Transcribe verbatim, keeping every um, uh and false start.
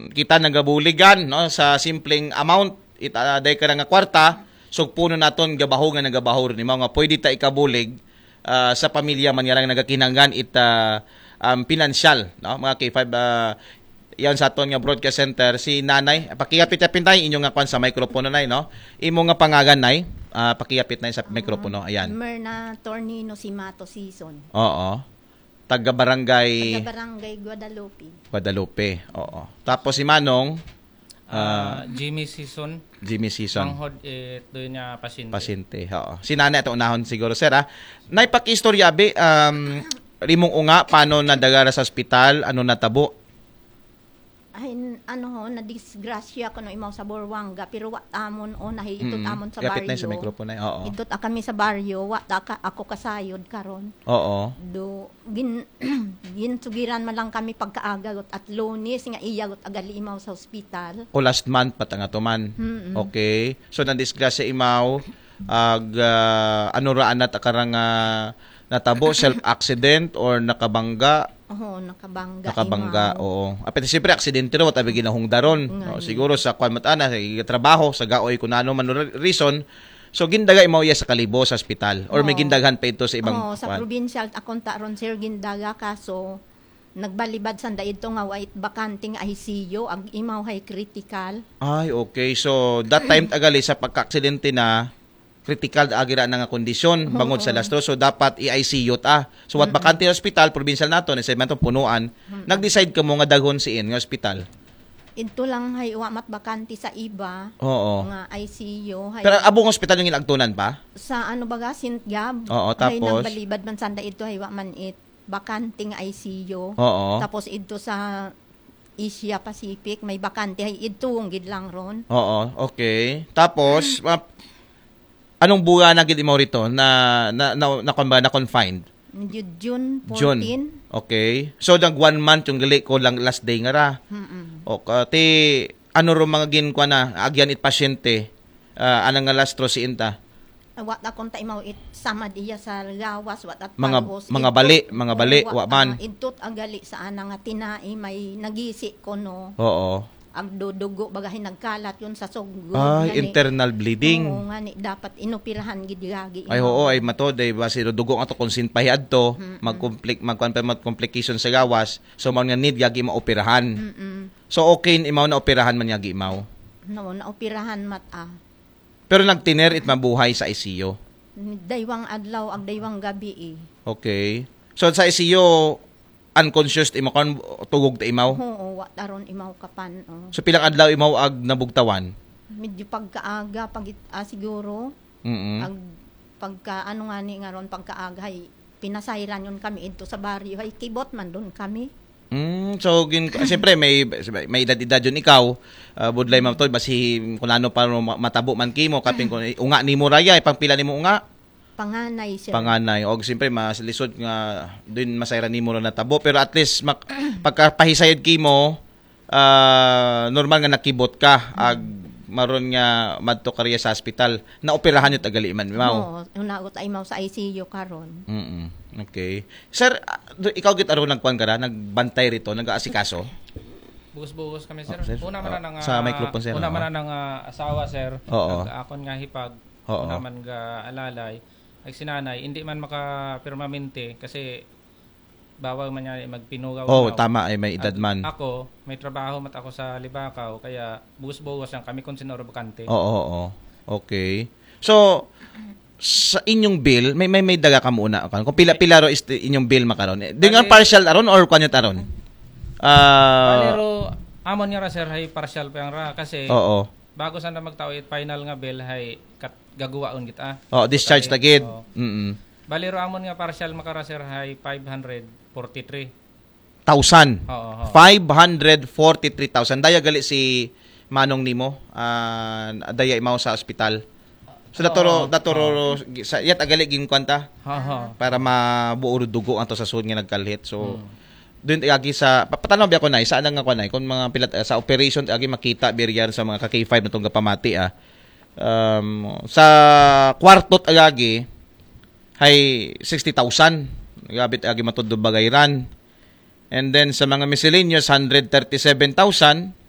kita nagabuligan, no, sa simpleng amount, it, ah, day ka nga kwarta, sugpuno naton gabaho nga nagabaho rin, mga pwede ta ikabulig, ah, sa pamilya man nga lang nagakinahanglan it, ah, um, pinansyal, no, mga K five, ah, yan sa aton nga broadcast center, si Nanay, pakiyapit-yapit, Nay, inyo nga kwan sa mikropono, Nay, no? Imo nga pangalan, Nay, ah, pakiyapit, Nay, sa mikropono, ayan. Merna Tornino Simato Season. Oo. Taga barangay Taga Barangay Guadalupe. Guadalupe. Oo. Tapos si Manong, Ah, Jimmy Season. Jimmy Season. Manghod, eh, doon niya pasyente. Pasyente. Oo. Si Nanay ato unahon siguro, sir, ha? Nay, pakiistorya, abi, um, rimong unga, paano nadagara sa ospital, ano natabo? Ay, n- ano ho, nadisgrasya ko no imaw sa Borwanga, pero wa amon o nahiitot Mm. amon sa Yapit na baryo. Sa mikropono, Nay. Oo. Idot a kami sa baryo, wa ta ka, ako kasayod karon. Oo. Do gin ginsugiran man lang kami pagkaaga got at Lunes nga iya got agali imaw sa ospital. O last month pa ta nga to man. Mm-mm. Okay. So nadisgrasya imaw ag ah, ano ra anat akarang ah, natabo, self accident or nakabangga? Oho, nakabangga. Nakabangga, imaw. Oo. Apit siyempre aksidente ro, tabi ginahungdaron. Nga No, ni. Siguro sa kwan mat ana, sa trabaho, sa gaoy, kung ano man ro- reason. So gindaga imaw iya sa Kalibo sa ospital or may Oo. gindaghan pa ito sa ibang Oo, sa kwan? Provincial akon ta ron, sir, gindaga, kaso nagbalibad sanda idto nga wait bakante nga I C U, ag imaw hay critical. Ay, okay. So that time agali sa pagka-aksidente na, critical agi ra na nga kondisyon bangod sa lastro. So dapat i-I C U ta. So what bakante ospital, provincial nato, ni segmento punuan, nag-decide kamo nga daghon siin nga ospital? Idto lang hay wa mat bakante sa iba Oo. nga I C U hay. Pero abong ospital yung inagtunan pa? Sa ano baga, Saint Gab. Oo, Hay tapos? Nagbalibad man sanda idto hay wa man it bakante nga I C U. Oo. Tapos idto sa Asia Pacific may bakante hay idto gid lang ron. Oo, okay. Tapos, ma- anong buwan na gid imaw rito na na na, na, na, na confined? Medyo June June. fourteen. Okay. So nag one month yung gali ko lang last day nga ra. Mm-mm. O ka- ti ano ro mga ginkuan na agyan it pasyente, ah, anang nga lastro si inta? Wa ta kon ta imaw it samad iya sa gawas, wa ta Mga- pagos. mga Idtot- bali, mga bali, Oo, wa man. Ah, idtot agali sa ana nga tinai may nagisi ko no. Oo. Agdudugo bagahin nagkalat yun sa sugod. Ay, Ngani- internal bleeding. Oo, ngani dapat inoperahan gid gagi. Ay, oo, ay matod, ay basi dugo nga to kung sin pahiadto, mag-compli- magkuan pa mag complication sa gawas, so mao nga need gagi maoperahan. Mm-mm. So okay, imaw na operahan man gagi imaw. No, naoperahan mat ah. Pero nagtiner it mabuhay sa I C U. Daywang adlaw, ag daywang gabi eh. Okay. So sa I C U, unconscious ti imaw, kan tugog ti imaw. Oo, wa taron imaw kapan. Oh. So pilang adlaw imaw ag nabugtawan? Medyo pagkaaga, pag ah, siguro, Mm. ag pagka ano nga ni nga ron, pagkaaga, hay, pinasayran yun kami idto sa baryo. Hay, kibot man doon kami. Mm, so gin siyempre may may edad-edad yun ikaw. Uh, budlay man to basi kung ano pa ro ma- matabo man kimo kapin kung unga nimo raya, pangpila nimo unga? Panganay, sir. Panganay. Og siyempre mas lisod nga din masayran nimo ra natabo, pero at least mak- pagkapahisayod kimo, ah, normal nga nakibot ka ag maron nga madto ka riya sa hospital. Naoperahan yun tagali man imaw. Oo, unagot ay imaw sa I C U karon. Mm. Okay. Sir, ah, do- ikaw gid aron nagkuan ka ra, nagbantay rito, nag-aasikaso? Bugos-bugos kami, sir. Oh, sir. Una man Oh, na nga sa microphone, sir, Una oh. man na nga asawa, sir. Oo. Ag akon nga hipag. Oo. Una man nga alalay. Ag sinanay, hindi man maka permanente kasi bawal man niya magpinugaw. Oh, no? Tama ay may edad Ag man. Ako, may trabaho mat ako sa Libacao, kaya bugos-bugos lang kami kung sino bakante. Oo, oo. Okay. So sa inyong bill, may may may daga ka muna kan. Kung pila-pila ro is inyong bill makaron. Eh, di nga Bali- partial aron or kanyo taron? Ah, Pero amon nga ra, sir, hay partial pa yang ra kasi oo. bago sanda magtao it final nga bill hay kat gagawaon kita. Oh, discharge Kami- tagid. Oo. Mm. Bali ro amon nga partial makara, sir, hay five hundred forty-three. Thousand. Oo, oo. Five hundred forty-three thousand. Daya gali si Manong nimo. Ah, daya imaw sa ospital. So daturo Oo, daturo sa yat agali gin kwanta Oo. para mabuo ro dugo ato sa sud nga nagkalhit. So Hmm. Doon agi sa pa- patanaw biya ko na isa nga kuan ay kung mga pilat sa operation agi makita biriyan sa mga ka K five na tong gapamati ah. Um, sa kwartot agagi hay sixty thousand gabit agi matod do bagay ran. And then sa mga miscellaneous hundred thirty-seven thousand